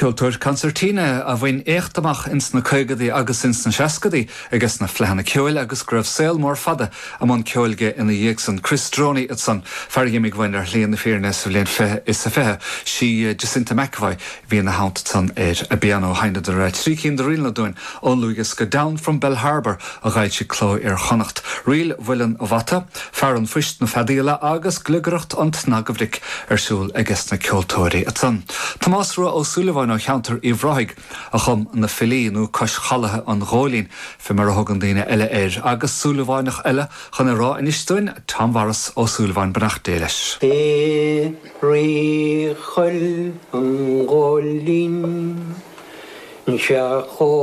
Ceoltóir concertina a bhain éacht amach ins na caogadaí agus ins na seascadaí ages na Fleadhanna Ceoil agus go raibh saol mór fada i mbun ceoil aige ina dhiaidh san. Chris Droney ansan, fear a dh'imigh uainn ar shlí na fírinne sa bhliain 2020. Sí Jacinta McEvoy a bhí ina theannta ansan ar an bpianó. Sheinneadar trí cinn de ríleanna dúinn ón ndlúthdhiosca Down from Bellharbour a dh'fhoilsigh Cló Iar-Chonnacht. Ríl Mhuileann a' Bhata, Fear an Phoist na Feadaíola agus Gliogaireacht an tSnaga Bhric ar siúl ages na ceoltóirí ansan. Tomás Rua Ó Súilleabháin ó cheantar Uíbh Ráthaigh a chum Na Filí, nó Cois Chalaithe an Ghóilín fé mar a thugann daoine eile air, agus Súilleabháineach eile chun é rá anois dúinn, Tom Mhaurice Ó Súilleabháin, beannacht Dé leis. I Rí Choill an Ghóilín, 'sea chomh.